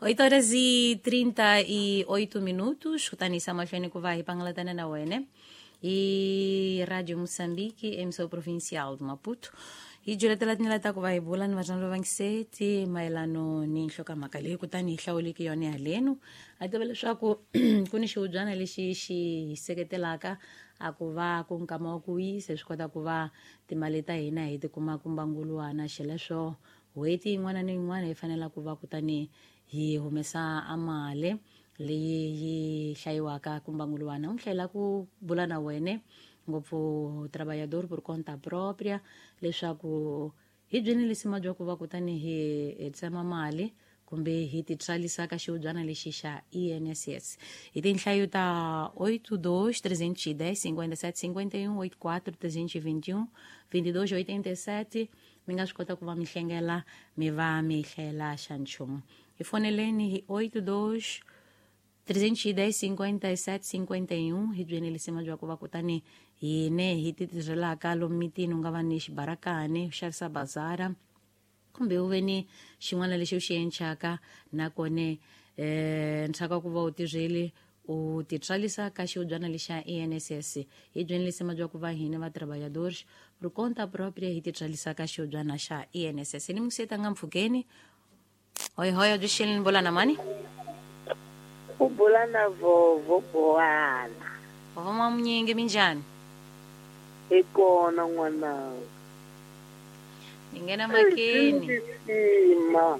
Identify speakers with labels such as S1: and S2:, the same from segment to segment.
S1: 8 horas e 38 minutos, kutani isa mahlweni ku va hi pangalatana na wena hi Radio Moçambique, emissão provincial de Maputo. Hi juletela tindlela ta ku va hi bula ni vatswari va vangiseti mayelano ni nhlokomhaka leyi kutani hi hlawuleke yona halenu. A tiva leswaku ku ni xihubyana lexi xi hi seketelaka a ku va ku nkama wa ku wisa swi kota ku va timali ta hina hi ti kuma ku mbanguluwana xileswo n'hweti yin'wana ni yin'wana hi fanela ku va kutani hi humesa a mali leyi yi hlayiwaka ku mbanguluwana. U hlayela ku bula na wene ngopfu trabalhador por conta própria leswaku hi byini lisima bya ku va kutani hi tsema mali kumbe hi ti tsarisa ka xihubyana lexi xa INSS hi tinhlayo ta 82 310 57 51 84 321 22 87. Mi nga swi kota ku va mi hlengela mi va mi hlayela xa nchumu. Hi foneleni hi 82 310 57 51 hi byeni lisima bya ku va kutani hine hi ti tirhelaka lomu mitini. U nga va ni xibarakani u xavisa bazara kumbe u ve ni xin'wana lexi u xi encaka nakone ntsaka ku va u tirheli u ti tsarisa ka xihubyana lexa INSS. Hi byeni lisima bya ku va hina va trabalhadores por conta própria hi ti tsarisa ka xihubyana xa INSS. Ni museta nga mpfhukeni hoy hoy byi xini ni bula na mani?
S2: U bula na Vovo Bowana.
S1: Vovo Mamunyingi, minjhani?
S2: Hi kona n'wananga.
S1: Ni nghena makeni.
S2: Sima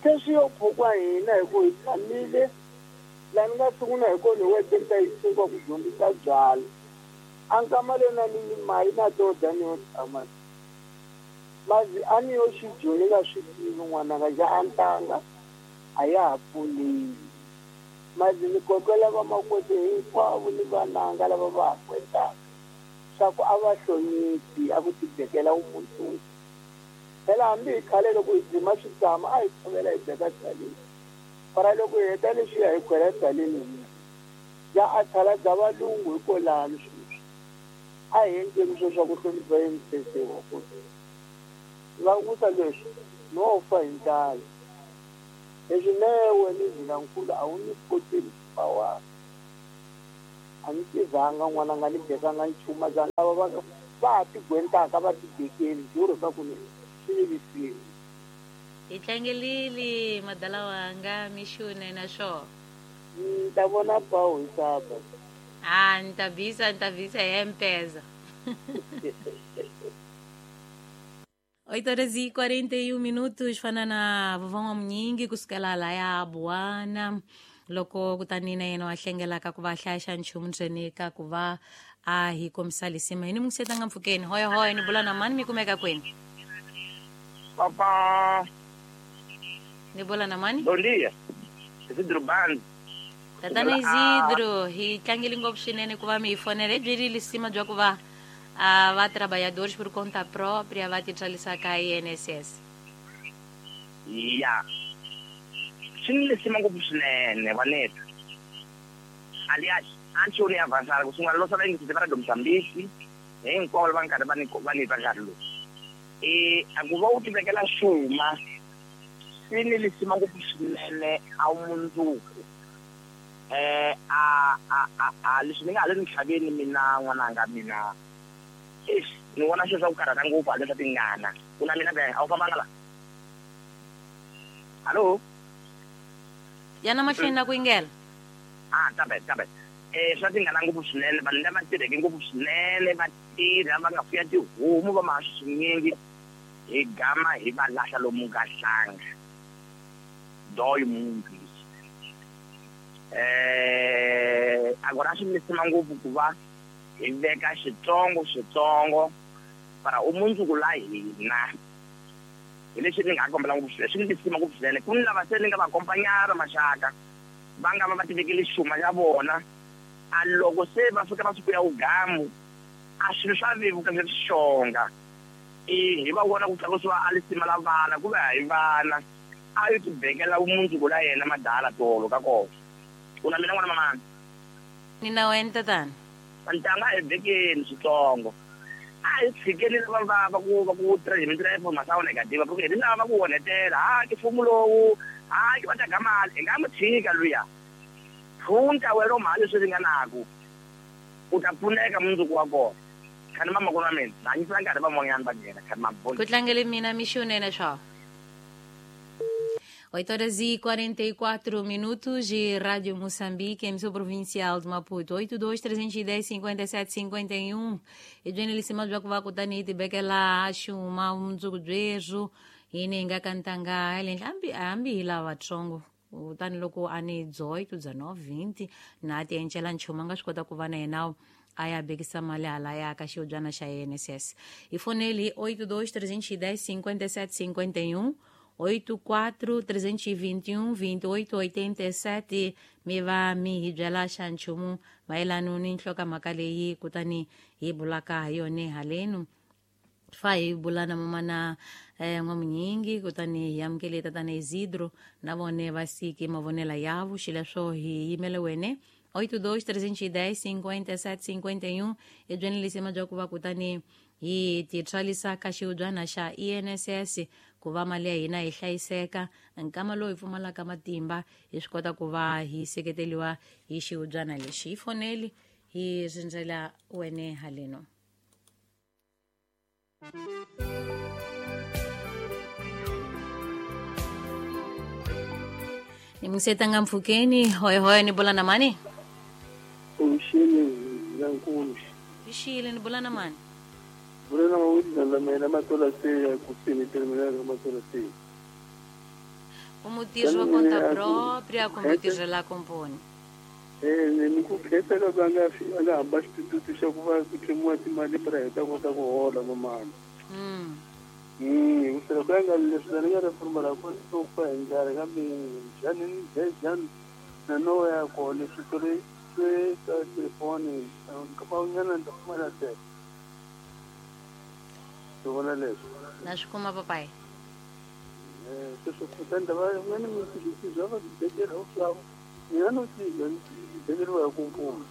S2: se swi yo phukwa hina hi ku hi tshamile laha ni nga sungula hi kona hi wete ni ta yi suka ku dyondzisa byala a nkama leyi na ni mali na to dya ni yo tshama mazi a ni yo xijoni nga swi tivi n'wananga ja a ntanga a ya ha pfunile mazi ni kokela vamakwete hinkwavo ni vananga lava va ha kwetaka swa ku a va hloniphi a ku tibekela umundzuku. Phela hambi hi khale loko hi dzima switsama a hi tshovela hi beka byaleni para loko hi heta leswiya hi khwela byaleni hina ya a tshala bya valungu hikolani sweswi a hi endleni swo swa ku hlonipha INSS wa kona nga vusa leswi no fa hi ndlala leswi mewe ni zilankulu a wu ni koteli xipawani a ni tivanga n'wananga ni bekanga nchumu za lava va ha tigwentaka va tibekeli juro swa ku ni swi ni lisile.
S1: Hi tlangelile madala wanga mixune na swo.
S2: Ni ta vona pawu hi saba.
S1: A ni ta bisa ni ta bisa hi mpeza. 8 horas e 41 minutos fana na vovó Mamunyingi kusukela laya Buwana loko kutani na yena wa hlengelaka ku va hlaya xa nchumu ndzeni ka ku va a hi kombisa lisima. Hi ni mungiseta nga mpfhukeni hoya hoya ni bula na mani mi kumeka kwini?
S3: Papa.
S1: Ni bula na mani?
S3: Bom dia. Isidro Band.
S1: Tatana Isidro, hi tlangele ngopfu swinene ku va mi hi fonela. Hi byeli lisima bya ku va va trabalhadores por conta própria va ti tsarisa ka INSS.
S3: Ya. Swi ni lisima ngopfu swinene vaneta. Aliás, antes eu nem avançar, ku sungula losa va yingisile va Radio Mozambique, hinkwavo va nkarhi va ni va ni twa nkarhi lowu. A ku va u tivekela xuma swi ni lisima ngopfu swinene a wu mundzuku. A leswi ni nga ha le ntlhaveni mina n'wananga mina eish ni vona swilo swa ku karhata ngopfu haleni swa tingana ku na mina be a wu fambanga la. Hallo.
S1: Yana mahlweni na ku yingela.
S3: Tabe tabe. Swa tingana ngopfu swinene vanhu lava tirheke ngopfu swinene va tirha va nga fuya tihomu va maha swinyingi hi gama hi va lahla lomu nga hlanga doyi muntu. Agora swi lisima ngopfu ku va hi veka xitsongo xitsongo para umundzuku la hina hi leswi ni nga kombela ngopfu swinene swi ni lisima ngopfu swinene ku ni lava se ni nga va kompanyara maxaka va nga va va tivekele xuma ya vona a loko se va fika va siku ya ugamu a swilo swa vevuka swi xonga hi va vona ku tlakusiwa a lisima la vana ku va hi vana a yi tibekela vumundzuku la yena madala tolo ka kona. U na mina n'wana mamani?
S1: Ni na wena tatana.
S3: Ntanga hi bekeni switsongo a hi tshikeli lava va ku va ku tirha hi mintirho ya masawu negative porque hi lava va ku onhetela ha ke mfumo lowu Hayi va teka mali hi nga n'wi tshika luya phunta wena mali leswi ringanaku u ta pfuneka mundzuku wa kona khani mamakulu wa mina na hanyisela nkarhi van'wanyana va nghena khani maboni
S1: ku tlangele mina mixunene swa 8h44 minutos de Rádio Moçambique, emissão provincial de Maputo. 82 310 57 51. Edwene lisima bya ku va kutani hi tibekela xuma mundzuku byebyo hini hi nga kantanga elenhla hambi hambi hi lava vatsongo kutani loko a ni 18 19 20 na ti encela nchumu a nga swi kota ku va na yena a ya bekisa mali hala ya ka xihubyana xa INSS hi foneli 82 310 57 51 84 321 28 87 mi va mi hi byela xa nchumu mayelano ni nhlokomhaka leyi kutani hi bulaka hi yone halenu fa hi bula na mamana n'wamunyingi kutani hi amukele tatana Isidro na vone va siki mavonela yavo xileswo hi yimele wene 82 310 57 51 ebyeni lisima bya ku va kutani hi titswarisa ka xihubyana xa INSS ku va mali ya hina yi hlayiseka nkama lowu hi pfumalaka matimba hi swi kota ku va hi seketeliwa hi xihubyana lexi hi foneli hi rindzela wene haleno ni musetanga mpfhukeni hoyihoyi ni bula na mani
S2: Uxile lankulu.
S1: Xile ni bula na mani
S2: Bula na mawini la mina matola se ya kusini terminal ya matola se.
S1: Como mutirhi wa conta própria kumbe u tirhela komponi
S2: Ni ku khetha loko a nga a nga hamba xitututu xa ku va ku tlemiwa timali pra hi ta kota ku hola mamana. Kusela ku ya nga leswi ni nga ri pfumala ku ku fa hi ndlala kambe njhani njhani na no ya kona leswi swi swi ka telefoni nkama ni ta pfumala se. Swi vona leswi.
S1: Na swi kuma papayi
S2: Sweswo kutani va nga ni mintshikisi bya va bibekela swa mina no ti bekeriwa hi ku mpfula.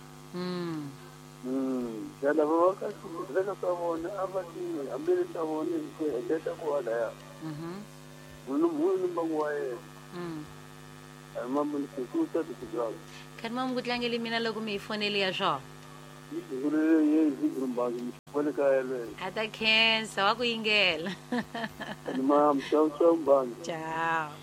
S2: Ya lava va ka swibedhlele swa vona a va ti hambele swa vona hi ku heketa ku halaya. Munhu munhu ni mbangu wa yena. A hi mamuni ku ta ti byala.
S1: Khani mamu ku tlangele mina loko mi hi foneli ya swona
S2: Yi Isidro Mbangi wa le kaya lweyo.
S1: A ta khensa wa ku yingela
S2: Ni mam ciao ciao Mbangi.
S1: Ciao.